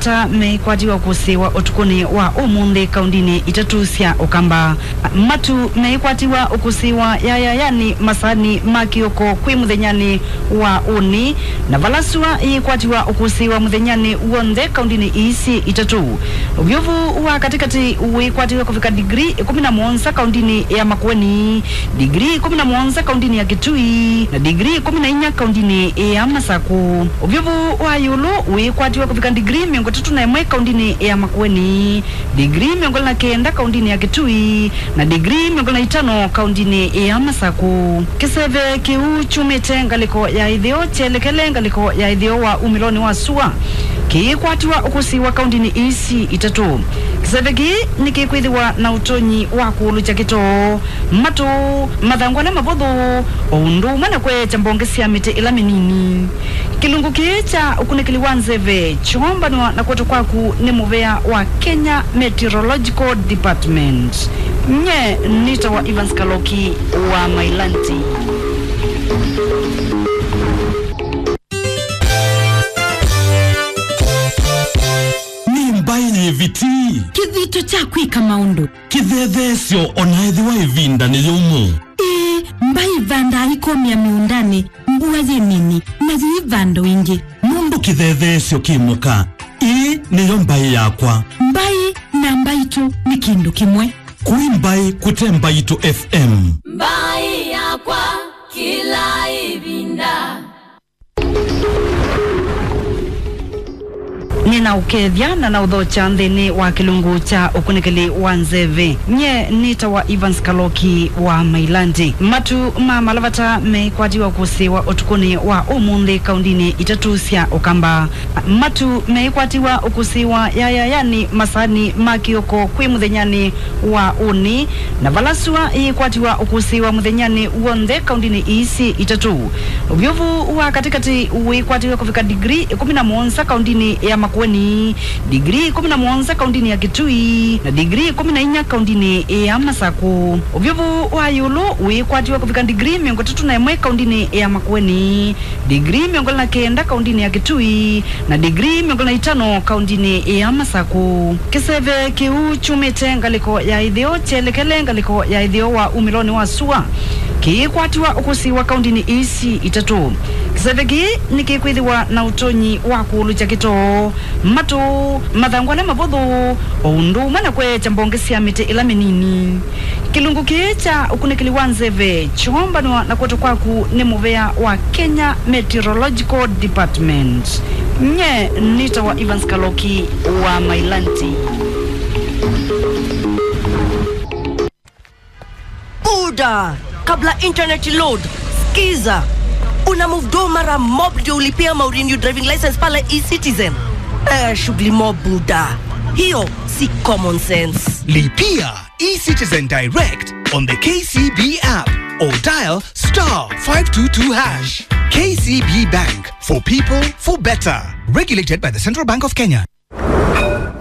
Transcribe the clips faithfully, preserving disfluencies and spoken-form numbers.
ta meĩkwatiwa kũsĩĩwa ũtukũnĩ wa ũmũnthĩ kaundinĩ itatũ sya Ũkamba. Matu meĩkwatiwa ũkũsĩĩwa yayayanĩ masaanĩ ma kĩoko kwĩ mũthenyanĩ wa ũnĩ, na vala sua yĩkwatiwa ũkũsĩĩwa mũthenyanĩ w'onthe kaundinĩ ii syĩ itatũ. Ũvyũvu wa katĩkatĩ wĩkwatiwe kũvika ndigrii ĩkũmi na mũonza kaundinĩ ya Makueni, ndigrii ĩkũmi na mũonza kaundinĩ ya Kitui, na ndigrii ĩkũmi na inya kaundinĩ ya Masaku. Ũvyũvu wa ĩũlũ wĩkwatiwe kũvika ndigrii mĩongo ĩtatũ na ĩmwe kaundinĩ ya Makueni, ndigrii mĩongo ĩlĩ na kenda kaundinĩ ya Kitui, na ndigrii mĩongo ĩlĩ na itano kaundinĩ ya Masaku. Kĩseve kĩu kyumĩte ngalĩko ya ĩtheo kyelekele ngalĩko ya ĩtheo wa umĩlonĩ wa sua kĩikwatiwa ũkũsĩĩwa kaundinĩ ii itatũ. Kĩseve kĩĩ nĩkĩkwĩthĩwa na ũtonyi wa kũũlũkya kĩtoo, matũ, mathangũ ala mavũthũ, o ũndũ ũmwe na kweekya mbonge sya mĩtĩ ĩla mĩnini. Kĩlungu kĩĩ kya ũkunĩkĩli wa nzeve kyoombanwa na kwetwa kwaku nĩ mũvea wa Kenya Meteorological Department. Nye nĩtawa Evans Kaloki wa Mailanti. Nĩ mbaĩ yĩviti. Kĩthito kya kwĩka maũndũ. Kĩthetheesyo o na ethĩwa ĩvinda nĩ yũmũ. Ĩĩ, mbaĩ ĩvandaa ikomĩa mĩũndanĩ mbua yĩ nini, na yĩivanda o ĩngĩ. Nũndũ kĩthetheesyo kĩ mũka, ĩĩ nĩyo mbaĩ yakwa. Mbaĩ na mbaitũ nĩ kĩndũ kĩmwe. Kũi mbaĩ kũte Mbaitũ F M. Mbaĩ yakwa kĩla ĩvinda. Nĩnaũkethya na naũthokya nthĩnĩ wa kĩlungu kya ũkunĩkĩli wa nzeve. Nye nĩtawa Evans Kaloki wa Mailandi. Matu ma malavata meĩkwatiwa kũsĩĩwa ũtukũnĩ wa ũmũnthĩ kaundinĩ itatũ sya Ũkamba. Matu meĩkwatiwa ũkũsĩĩwa yayayanĩ masaanĩ ma kĩoko kwĩ mũthenyanĩ wa ũnĩ, na vala sua yĩkwatiwa ũkũsĩĩwa mũthenyanĩ w'onthe kaundinĩ ii syĩ itatũ. Ũvyũvu wa katĩkatĩ wĩkwatiwe kũvika ndigrii ĩkũmi na mũonza kaundinĩ ya Makueni, ndigrii ĩkũmi na mũonza kaundinĩ ya Kitui, na ndigrii ĩkũmi na inya kaundinĩ ya Masaku. Ũvyũvu wa ĩũlũ wĩkwatiwe kũvika ndigrii mĩongo ĩtatũ na ĩmwe kaundinĩ ya Makueni, ndigrii mĩongo ĩlĩ na kenda kaundinĩ ya Kitui, na ndigrii mĩongo ĩlĩ na itano kaundinĩ ya Masaku. Kĩseve kĩu kyumĩte ngalĩko ya ĩtheo kyelekele ngalĩko ya ĩtheo wa umĩlonĩ wa sua kĩikwatiwa ũkũsĩĩwa kaundinĩ ii itatũ. Kĩseve kĩĩ nĩkĩkwĩthĩwa na ũtonyi wa kũũlũkya kĩtoo, matũ, mathangũ ala mavũthũ, o ũndũ ũmwe na kweekya mbonge sya mĩtĩ ĩla mĩnini. Kĩlungu kĩĩ kya ũkunĩkĩli wa nzeve kyoombanwa na kwetwa kwaku nĩ mũvea wa Kenya Meteorological Department. Nye nĩtawa Evans Kaloki wa Mailanti. Buda, kabla internet load, skiza. Una move do mara mob ndio ulipia ma renew driving license pale eCitizen. Eh, shughuli mob buda. Hiyo si common sense. Lipia eCitizen Direct on the K C B app or dial star five two two hash. K C B Bank, for people, for better. Regulated by the Central Bank of Kenya.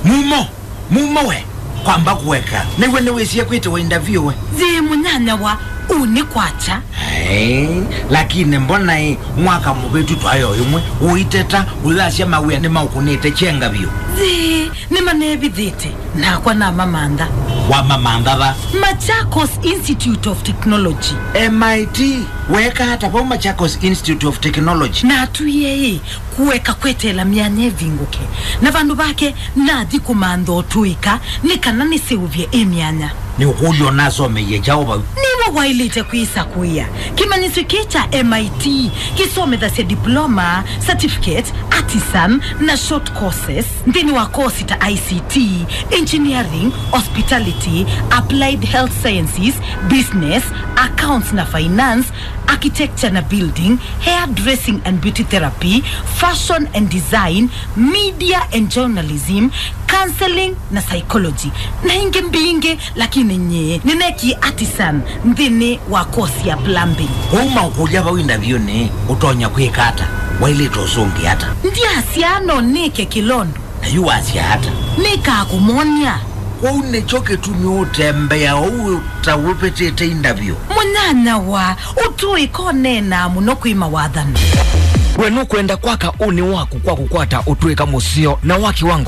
Mumo, mumo we, kwamba kuweka. Nĩwe nĩwĩsie kwĩtĩwa interview we. Yĩ mũnyanyawa, ũnĩ kwacha. Ai, lakini mbona ĩ mwaka mũvĩtu twayo ĩmwe, ũiteta, ũyasya mawĩa nĩmaũkũnĩte kyenga vyũ. Yĩ, nĩmanevithĩte, nakwa namamantha. Wamamantha va? Machakos Institute of Technology. M I T, weka ata vau Machakos Institute of Technology? Natwie ĩ, kũeka kweteela myanya ĩvingũke, na vandũ vake nathi kũmantha ũtũĩka nĩ kana nĩseũvye ĩ myanya. Nĩũkũlya ũnasomeie kyaũ vau? Nĩwe waĩlĩte kwĩsakũĩa. Kĩmanyĩsyo kĩĩ kya M I T kĩsomethasya diploma, certificate, artisan, na short courses nthĩnĩ wa kosi ta I C T, engineering, hospitality, applied health sciences, business, accounts na finance, architecture na building, hair dressing and beauty therapy, fashion and design, media and journalism, counseling na psychology, na ingĩ mbingĩ, lakini nyie nĩnekie artisan nthĩnĩ wa course ya plumbing. Kwoou maũkũlya vau interview-nĩ, ũtonya kwĩka ata? Waĩlĩte ũsũngĩa ata? Ndyasya no nĩke kĩlondo. Na yu wasya ata? Nĩkaa kũmwony'a. Kwoou nĩkyo kĩtumi ũtembea ũu ta ũvĩtĩte interview? Mũnyanyawa, ũtũĩka ũneenaa mũno kwĩ mawathani. We nũkwenda kwaka ũnĩ waku kwa kũkwata ũtũĩka mũseo na wa kĩwango